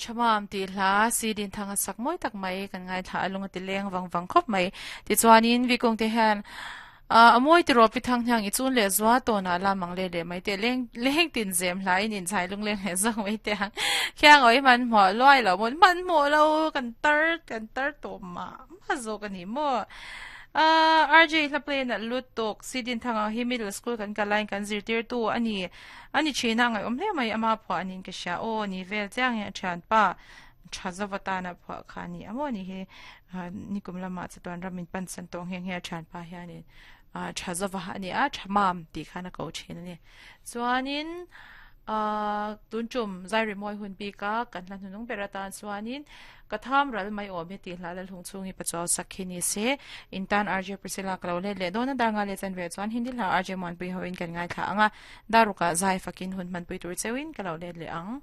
Thamam tih hla si din thang a sak mawi tak mai kan ngaithla a lung a ti leng vang vang khawp mai. Tichuanin Vikung te hian a mawi tiraw pi thang hniang i chun leh zua tawnah la mang let leh mai teh leng leng tin zem hla in inchai lung leng leh zawk mai teh ang. Khiang awi hmanhmawh luai lo maw hmanhmawh lo kan tar kan tar tawh mah mah zawk a ni maw. RJ hla play nalh lutuk si din thang ang hi middle school kan kal laiin kan zirtirtu a ni. A ni thin a, ngaihawm hle mai ama phuah anin ka hria. Aw ni vel chiang hi a thianpa tha zova tana phuah kha a ni a maw ni hi nikum lamah chatuan ram min pan san tawh nghe nghe a thianpa hianin tha zova a ni a, tha mam tih khan a ko thin a ni. Chuanin tun tum Zairi Mawi hun bika kan hla hnunung ber atan chuanin Ka tham ral mai awm hi tih hla Lalhung chhung hi pachuau sak hi ni se. In tan RJ Priscilla ka lo let leh dawn a, dar nga leh chanve chuan Hindi hla RJ Muanpui hoin kan ngaithla ang a, dar rukah zai fakin hun hmanpui tur cheuhin ka lo let leh ang.